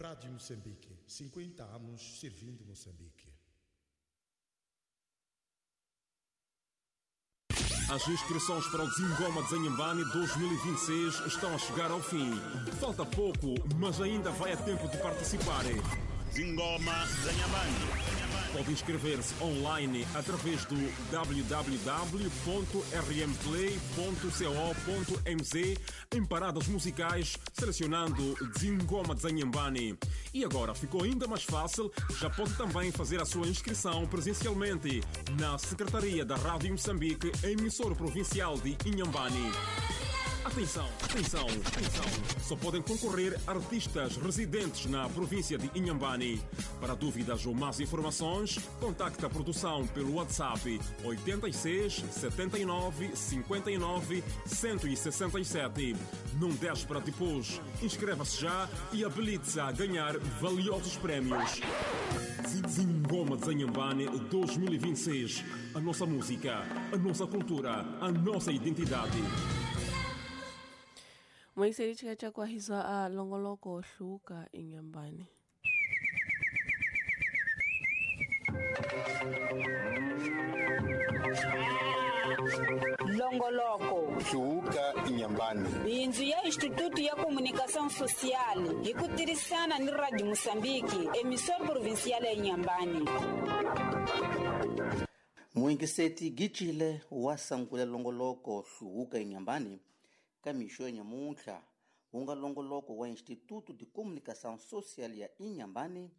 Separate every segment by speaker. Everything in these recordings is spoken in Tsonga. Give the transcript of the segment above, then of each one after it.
Speaker 1: Rádio Moçambique, 50 anos servindo Moçambique.
Speaker 2: As inscrições para o Zingoma de Inhambane 2026 estão a chegar ao fim. Falta pouco, mas ainda vai a tempo de participar.
Speaker 3: Zingoma de Inhambane.
Speaker 2: Pode inscrever-se online através do www.rmplay.co.mz em paradas musicais, selecionando Zingoma de Inhambane. E agora ficou ainda mais fácil, já pode também fazer a sua inscrição presencialmente na Secretaria da Rádio Moçambique, emissora provincial de Inhambane. Atenção, atenção, atenção! Só podem concorrer artistas residentes na província de Inhambane. Para dúvidas ou mais informações, contacte a produção pelo WhatsApp 86 79 59 167. Não deixe para depois. Inscreva-se já e habilite-se a ganhar valiosos prémios. Zingoma de Inhambane 2026. A nossa música, a nossa cultura, a nossa identidade.
Speaker 4: Moiseri chika kwahizwa a longoloko hluka Inhambane.
Speaker 5: Longoloko
Speaker 6: Hluka Inhambane.
Speaker 5: Bindzu ya Instituto ya Comunicação Social hi ku tirhisana ni Radio Moçambique, emissora provincial ya Inhambane.
Speaker 7: Muingiseti Gitshile wa sangula longoloko hluka Inhambane ka mixo ya nyamuntlha wu nga longoloko wa Instituto de Comunicação Social ya Inhambane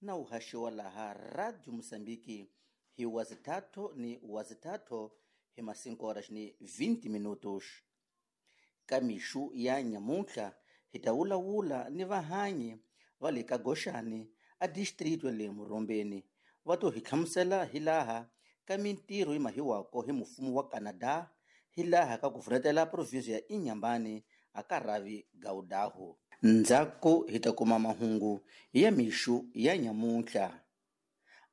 Speaker 7: na wu haxiwa laha Radio Moçambique hi wazithathu ni wazithathu hi ma-5 horas ni 20 minutos. Ka mixo ya nyamuntlha hi ta wulawula ni vahanyi va le ka Goxani a distrito ya le Murombeni va to hi hlamusela hi laha ka mintirho yi mahiwako hi mfumo wa Canada hi laha ka ku vunetela provinsi ya Inhambane a ka rhavi Gaudaho. Ndzhaku hi ta kuma mahungu ya mixo ya nyamuntlha.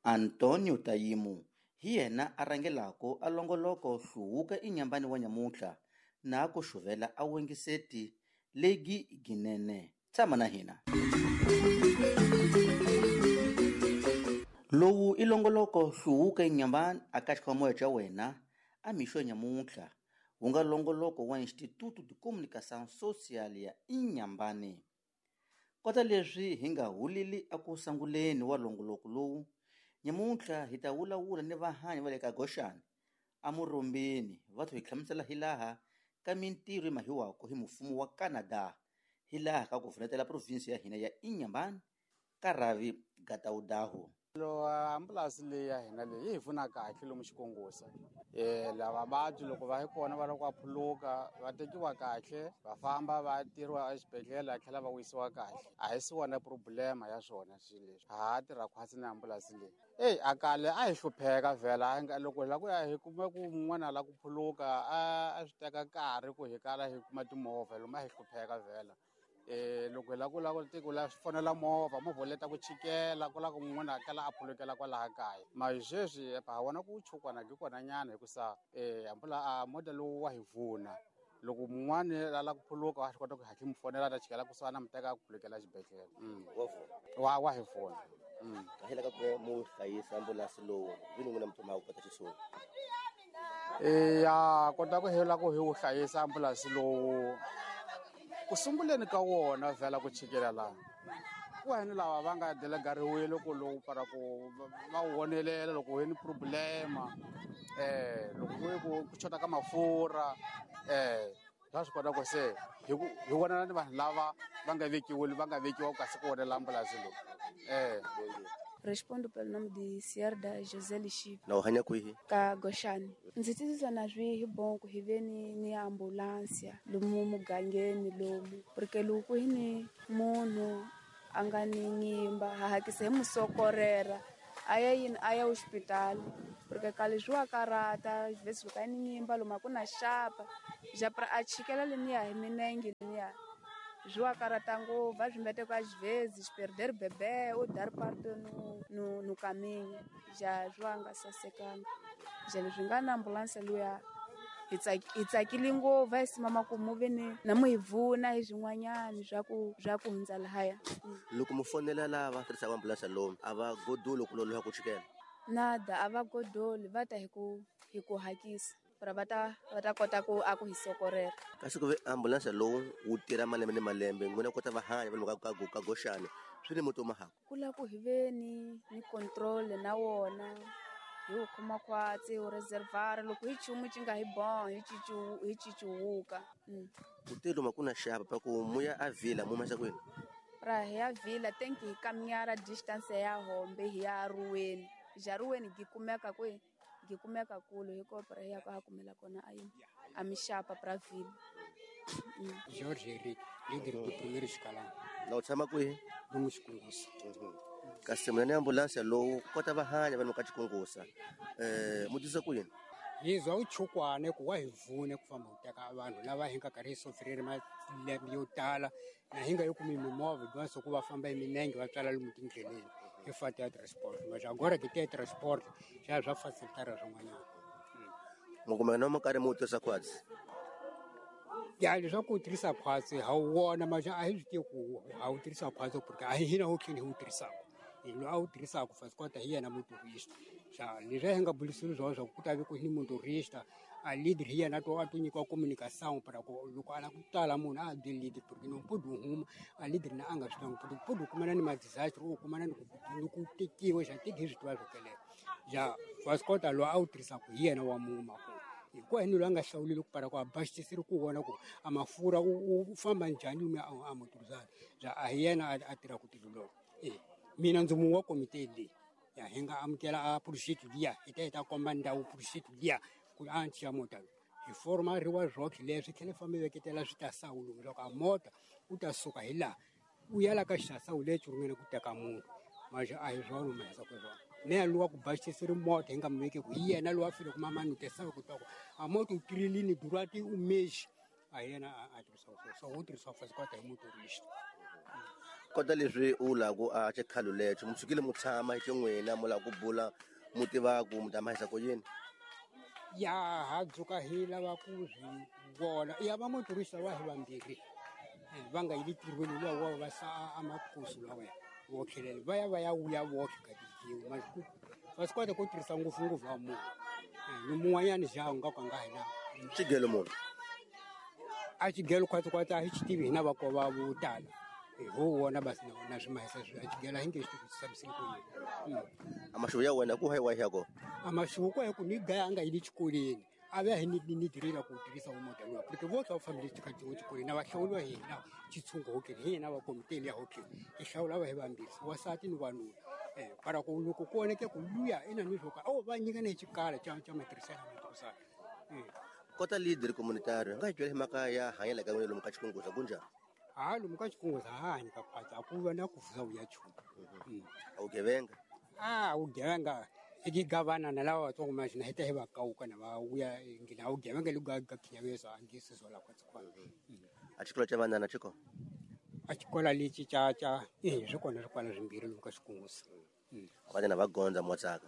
Speaker 7: Antonio Tayimu hi yena a rhangelaka a longoloko hluvuka Inhambane wa nyamuntlha na ku xuvela a wengiseti legi ginene. Tshama na hina. Lowu i longoloko hluvuka Inhambane a ka xikhomoya xa wena a mixo ya nyamuntlha wu nga longoloko wa Instituto de Comunicação Social ya Inhambane. Kota leswi hi nga huleli eku sunguleni wa longoloko lowu, nyamuntlha hi ta wulawula ni vahanyi va le ka Goxani a Murombeni va to hi hlamusela hi laha ka mintirho yi mahiwako hi mfumo wa Canada hi laha ka ku vunetela provinsi ya hina ya Inhambane ka rhavi Gataudaho.
Speaker 8: Lo ambulansi leyi ya hina leyi yi hi pfuna kahle lomu xikongosa lava vabyi loko va yi kona va lava ku phuluka va tekiwa kahle va famba va tiriwa exibedhlele va tlhela va wisiwa kahle a hi si wona problema ya swona swilo leswi ha tirha khwatsi na ambulansi leyi eyi a kale a hi hlupheka vhela loko hi lava ku ya hi kume ku un'wana a lava ku phuluka a swi teka nkarhi ku hi kala hi kuma timovha lomu a hi hlupheka vhela loko hi lava ku lava ku la fonela movha movha wu leta ku chikela ku lava ku munhu a kala a phulukela kwalaha kaya mara sweswi ha vona ku chukwana ki kona nyana hikusa ambula a moda lowu wa hi vuna loko mun'wani a lava ku phuluka wa swi kota ku hatla mu fonela a ta chikela kusuhana mu teka a phulukela xibedhlele wa hi vuna.
Speaker 7: Kahela ka ku mu hlayisa ambulansi lowu vini n'wina mi thoma ku kota xiswona.
Speaker 8: Ya kota ku hela ku hi wu hlayisa ambulansi lowu ku sunguleni ka wona vhela ku chikela laha ku heni lava va nga delegariwile ku lowu para ku va wu vonelela loko hi ni problema loko ku ku xota ka mafurha swa swi kota ku se hi vonana ni vanhu lava va nga vekiwile va nga vekiwa kasi ku vonela ambulansi lowu.
Speaker 9: Respondo pelo nome de Sierda José Lichipe.
Speaker 7: Na u hanya kwihi?
Speaker 9: Ka Goxani. Ndzi titwa na swi hi bon ku hi ve ni ambulance lomu mugangeni lomu porque loko hi ni munhu a nga ni nyimba ha hakisa hi musokorera a ya yini a ya hospitali porque kale swi wa karata vhesi loko a ni nyimba lomu a ku na xapa japra a chikela leniya hi minenge leniya swi wa karata ngopfu a swi mbete ku às vezes perder bebê ou dar parto no caminho já swi wa nga sasekanga ja leswi nga na ambulanse luya Hi tsakile ngopfu va hi simama ku mu ve ni na mu hi pfuna hi swin'wanyani swa ku hundza lahaya.
Speaker 7: Loko mu fonela lava tirhisaka ambulense lowu a va godoli ku loloha ku chikela?
Speaker 9: Nada, a va godoli, va ta hi ku hakisa pra va ta kota ku a ku hi sokorela.
Speaker 7: Kasi ku ve ambulense lowu wu tirha malembe ni malembe n'wina kota va hanya va ka goxani swi ni muti mahako
Speaker 9: ku la ku hi ve ni control na wona hi wu khoma khwatsi wu reservoir loko hi chumu ci nga hi bon hi cicuwuka.
Speaker 7: Ku te loma ku na xava pa ku muya a vila mu masa kwini
Speaker 9: pra hi ya vila tenki hi kamyara distance ya hombe hi ya ruweni jaruweni gi kumeka kwe gi kumeka kulu hi ko pra hi ya ka kumela kona a mixapa pra vila.
Speaker 10: George Eric, leader do primeiro escalão.
Speaker 7: Na u tshama kwihi?
Speaker 10: Lomu Xikungusa.
Speaker 7: Kasi muna ni ambulense lowu kota va hanya vanhu ka Xikungusa. Mu tisa ku yini?
Speaker 10: Hi zwa u chukwane ku wa hi vune ku famba ku teka vanhu lava hi nga karhi hi sofireri malembe yo tala na hi nga yi kumi mimovha dyondzo ku va famba hi minenge va tswala lomu tindleleni hi fata ya transport. Mas agora que tem transport já já facilitaram swin'wanyana.
Speaker 7: Mu kumeka na mo karhi mu tirhisa khwatsi?
Speaker 10: Ya leswaku u tirhisa khwatsi ha wu vona mas a hi swi tivi ku ha wu tirhisa khwatsi porque a hi hina ho tlhela hi wu tirhisaka. Hi loyi a wu tirhisaka fasi kota hi yena motorista. Xa leswi hi nga burisini swona swa ku ta ve ku ni motorista a leader hi yena to a to nyikiwa communication para ku loko a lava ku tala munhu a byeli leader porque no podi huma a leader na a nga swi twangi porque podi u kumana ni ma-disaster u kumana ni ku tekiwe xa teki hi swi tiva swo kelela. Ja fasi kota loyi a wu tirhisaka hi yena wa muma ku hikuva hi ni loyi a nga hlawulile ku para ku a basisile ku vona ku a mafurha u famba njhani lomu a motorizana ja a hi yena a tirhaka tilo loko. Mina ndzi mun'we wa komite leyi ya hi nga amukela a project liya hi ta hi ta komba ndhawu project liya ku a nchiya mota hi forma riwa rock leswi tlhela fambe veketela swi ta sawu loko a mota u ta suka hi laha u ya la ka xasawu lexi ringene ku teka munhu mas a hi swona mahisa ku swona ne luwa ku basisiri mota hi nga mu veki ku hi yena lowa file ku mama ni tesawu ku twa ku a mota u tirilini durati u mexi a hi yena a tirhisa so u tirhisa fasi kota hi motorista.
Speaker 7: Kota leswi u lava a xikhalo lexo mu sukile mu tshama hi xin'wina mu lava ku bula mu tiva ku mu ta mahisa ku yini?
Speaker 10: Ya ha dzuka hi lava ku swi vona ya va motorista wa hi vambirhi va nga yili tirhweni luwa wa va sa a makusu lawa wo tlhelela va ya wuya voxe ka tijiwa mas ku va swi kota ku tirhisa ngopfungopfu wa munhu ni mun'wanyani ja u nga ka nga hi na
Speaker 7: xigelo munhu
Speaker 10: a xigelo khwatsi a hi xi tivi hina vakova vo tala ho wona basi na swi mahisa swi a xigelo a hi nge xi tivisi ku yini.
Speaker 7: A maxuvu ya wena ku hi wa ya ko?
Speaker 10: A maxuvu ku hi ku ni gaya a nga yili xikolweni a va hi ni direla ku tirhisa mota lowu porque vo twa fambile tikati wo xikolweni na va hlawuliwa hi hina xitshungu hokeli hi hina va komite ya hokeli hi hlawula va hi vambirhi wasati ni wanuna para ku loko ku oneke ku luya ina ni swo ka o va nyika ni xikala xa matirhiselo matirhisana.
Speaker 7: Kota leader communitario nga hi byela hi mhaka ya hanyela ka n'wina lomu ka Xikunguza ku njhani?
Speaker 10: Ha lomu ka Xikunguza ha hanyi ka khwatsi a ku va na ku vuza vuya chumu.
Speaker 7: A wu gevenga?
Speaker 10: A wu gevenga i gavana na lava vatsongo maxina hi ta hi va kawuka na va vuya ngina a wu gevenga lu ga khinyavesa a nge sizola khwatsi khona.
Speaker 7: A xikolo xa vanana xi kona?
Speaker 10: A xikolo lexi xa swi kona swikolo swimbirhi lomu ka Xikunguza.
Speaker 7: Vanana va gondza mo tsaka?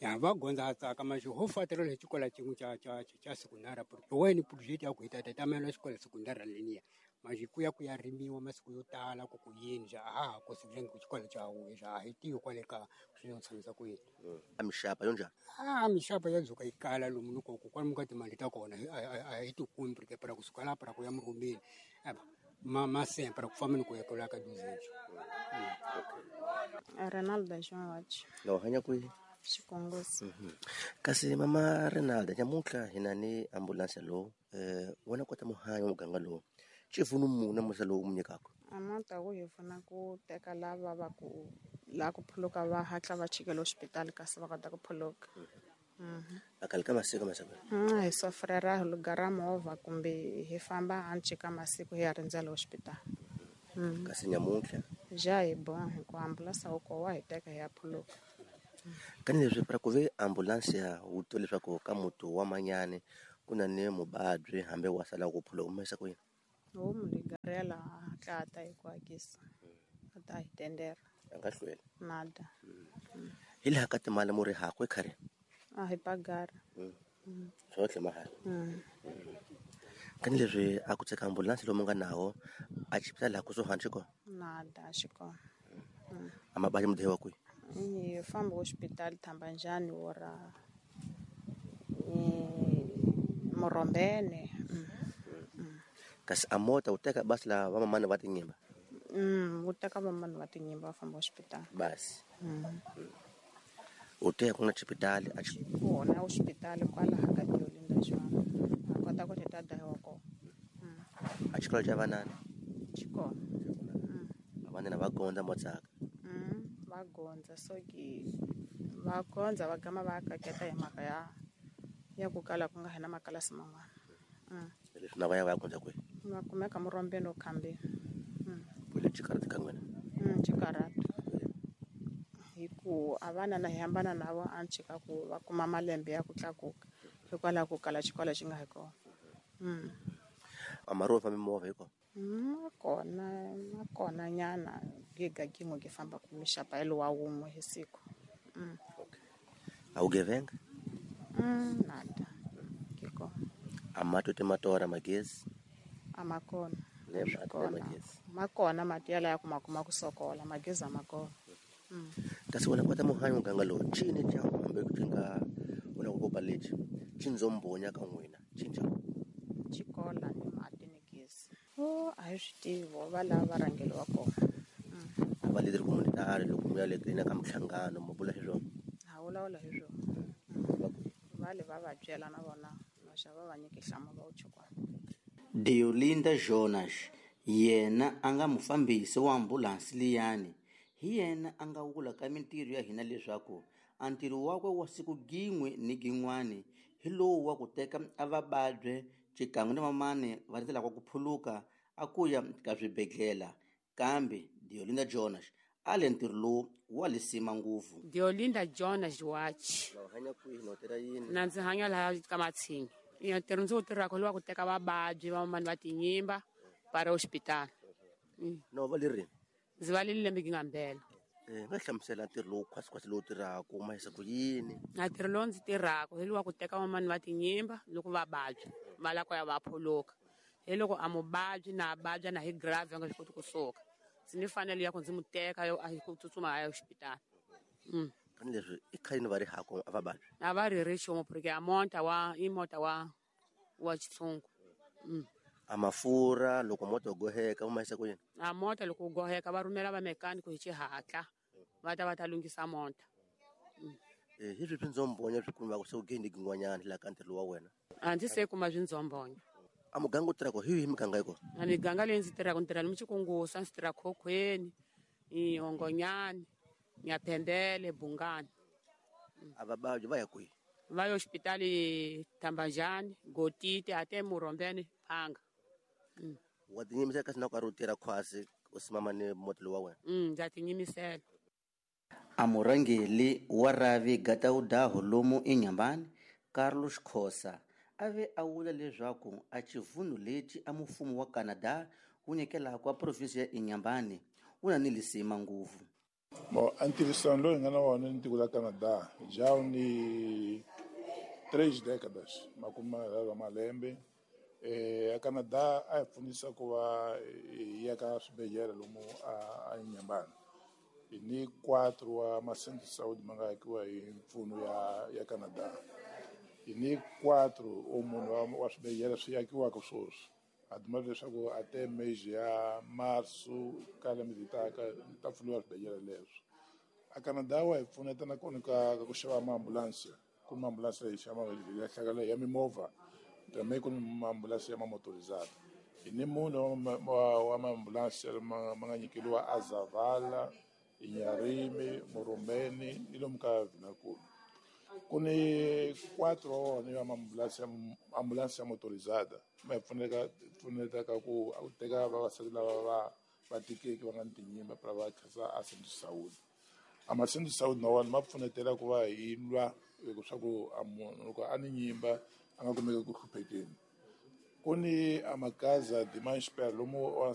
Speaker 10: Ya va gondza a tsaka mas ho fatirela hi xikolo xin'we xa sekundara porque wena project ya ku hi ta tamela xikolo sekundara leniya mas ku ya ku ya rimiwa masiku yo tala ku ku yini ja a ha ku sivile ku xikolo xa wuye ja a hi tivi kwale ka swi no tshamisa ku yini.
Speaker 7: A mixapa yo njhani?
Speaker 10: A mixapa ya dzuka yi kala lomu ni ku kwalomu ka timali ta kona a hi ti kumi porque para kusuka laha para ku ya murhumeni ma para ku famba ni ku ya kwala ka duzenjo.
Speaker 11: Renaldo João.
Speaker 7: Na u hanya kwihi?
Speaker 11: Xikunguza.
Speaker 7: Kasi mama Renaldo nyamuntlha hi na ni ambulense lowu wena kota muhanyi wa muganga lowu xipfuno muni musa lowu mu nyikaka?
Speaker 11: A mota wu hi pfuna ku teka lava va ku la ku phuluka va hatla va chikela hospitali kasi va kota ku phuluka.
Speaker 7: A khale ka masiku masiku
Speaker 11: hi sofrera hi lugara movha kumbe hi famba hanci ka masiku hi ya rindzela hospitali.
Speaker 7: Kasi nyamuntlha
Speaker 11: ja hi bon hi ku ambulense wu ko wa hi teka hi ya phuluka.
Speaker 7: Kani leswi para ku ve ambulense wu twa leswaku ka muti wa manyani ku na ni muvabyi hambi wa sala ku phuluka u mahisa ku yini?
Speaker 11: Ho mu ligarela hatla a ta hi ku hakisa a ta hi tendera
Speaker 7: a nga hlweli
Speaker 11: nada.
Speaker 7: Hi laha ka timali mu ri hakwe khari?
Speaker 11: A hi pagara.
Speaker 12: Swohle mahala. Kani leswi a ku tsheka ambulansi lomu nga nawo a xipitali laha kusuhani xi kona?
Speaker 11: Nada xi kona.
Speaker 12: A mabadi mi dehiwa kwihi?
Speaker 11: Hi famba hospitali Thambanjani ora Morombene.
Speaker 12: Kasi a mota wu teka basi la vamamani va tinyimba?
Speaker 11: Wu teka vamamani va tinyimba va famba hospitali.
Speaker 12: Basi. U teka ku na xipitali a xi
Speaker 11: kona hospitali kwalaha ka Diolinda Joana. A kota ku tita dahiwa kona.
Speaker 12: A xikolo xa vanana?
Speaker 11: Xi kona.
Speaker 12: Vanana va gondza motsaka.
Speaker 11: Va gondza so ki va gondza va gama va kaketa hi mhaka ya ku kala ku nga hina makalasi man'wana.
Speaker 12: Leswi na va ya va ya gondza kwihi?
Speaker 11: Va kumeka Morombeni okhambeni.
Speaker 12: Vule xikarhi ka n'wina?
Speaker 11: Xikarhati. Hi ku a vana na hi hambana na vo a chika ku va kuma malembe ya ku tlakuka hikwalaho ku kala xikolo xi nga hi kona.
Speaker 12: A mari wo famba mimovha hi kona?
Speaker 11: Ma kona nyana giga gin'we ki famba ku mixapa hi lowa wun'we hi siku.
Speaker 12: A wu gevenga?
Speaker 11: Nada. Ki kona.
Speaker 12: A mati ti matora magezi?
Speaker 11: A ma kona.
Speaker 12: Ne mati na magezi.
Speaker 11: Ma kona mati yala ya ku ma kuma ku sokola magezi a ma kona.
Speaker 12: Kasi wena kota muhanyo muganga lowu cini xa hambi ku nga wena ku kopa lexi xindzombonya ka n'wina cinca
Speaker 11: xikola ni mati ni gezi. A hi swi tivi va lava va rhangeli wa kona.
Speaker 12: A va leader communitary loko mi ya le ka minhlangano mi vula hi swona?
Speaker 11: Ha vulavula hi swona. Va le va va byela na vona maxa va va nyiki nhlamulo wu chukwana.
Speaker 7: Diolinda Jonas yena a nga mufambisi wa ambulansi liyani. Hi yena a nga wula ka mintirho ya hina leswaku a ntirho wakwe wa siku gin'we ni gin'wani hi lowu wa ku teka a vababye xikan'we ni vamani va rindzelaka ku phuluka a ku ya ka swibedhlele. Kambe Diolinda Jonas a le ntirho lowu wa lisima ngopfu.
Speaker 13: Diolinda Jonas Wachi.
Speaker 12: Na u hanya kwihi na u tirha yini?
Speaker 13: Na ndzi hanya laha ka Matshinyi. Ntirho ndzi wu tirhaka lowa ku teka vababyi vamani va tinyimba va ri hospitali.
Speaker 12: Na u va le rini?
Speaker 13: Ndzi va le lembe nga mbela.
Speaker 12: Nga hlamusela ntirho lowu khwasikhwasi lowu tirhaka u mahisa ku yini?
Speaker 13: Na ntirho lowu ndzi tirhaka hi lowa ku teka vamani va tinyimba loko va vabya va lava ku ya va phuluka. Hi loko a muvabyi na vabya na hi grave a nga swi koti kusuka. Ndzi ni fanele ya ku ndzi mu teka yo a ku tsutsuma a ya hospitali.
Speaker 12: Kani leswi i khale va ri hako a va vabya?
Speaker 13: A va ri ri xumo porque a mota wa i mota wa xitshungu.
Speaker 12: A mafurha loko mota wu goheka wu mahisa ku yini?
Speaker 13: A mota loko wu goheka va rhumela va mechanic hi xihatla va ta va ta lunghisa mota.
Speaker 12: Hi swihi swindzombonya swi kumiwaka se u geni gin'wanyana laha ka ntirho wa wena?
Speaker 13: A ndzi se kuma swindzombonya.
Speaker 12: A muganga u tirhaka hi yihi miganga yi kona?
Speaker 13: A miganga leyi ndzi tirhaka ndzi tirha ni Xikungusa, ndzi tirha Khokhweni, Hongonyani, Nyaphembele, Bungani.
Speaker 12: A vababyi va ya kwihi?
Speaker 13: Va ya hospitali Thambanjani, Gotiti, ate Morombeni, Phanga.
Speaker 12: Wa tinyimisela kasi na u karhi u tirha khwasi u simama ni mota lowu wa wena?
Speaker 13: Ndza tinyimisela.
Speaker 7: A murhangeri wa Ravi Gataudaho lomu eNyambani, Carlos Khosa, a ve a vula leswaku a xivundu lexi a mfumo wa Canada wu nyikelaka a provinsi ya Inhambane wu na ni lisima ngopfu.
Speaker 6: Bom, a ntirhisano lowu hi nga na wona ni tiko la Canada já ni 3 décadas, makume ya malembe. A Canada a hi pfunisa ku va hi ya ka swibedhlele lomu a Inhambane. Hi ni 4 wa ma-centre de saúde ma nga akiwa hi mpfuno ya Canada. Hi ni 4 o munhu wa swibedhlele swi akiwaka sweswi. A duma leswaku a te mês ya março ka lembe leri taka ta pfuriwa swibedhlele leswo. A Canada wa hi pfuneta nakona ka ku xava maambulansi. Ku ni maambulansi leyi xava ya hlakala ya mimovha também ku ni maambulansi ya mamotorizada. Hi ni munhu wa maambulansi ma nga nyikeriwa a Zavala, Inharime, Morombeni ni lomu ka Vinakulu. Ku ni 4 wa wona ya maambulansi ya motorizada ma hi pfunetaka ku teka vavasati lava va tikeke va nga ni tinyimba para va kha a centre de saúde. A ma centre de saúde na wona ma pfunetela ku va hi lwa leswaku a munhu loko a ni nyimba a nga kumeki ku hluphekeni. Ku ni a makaza de mais lomu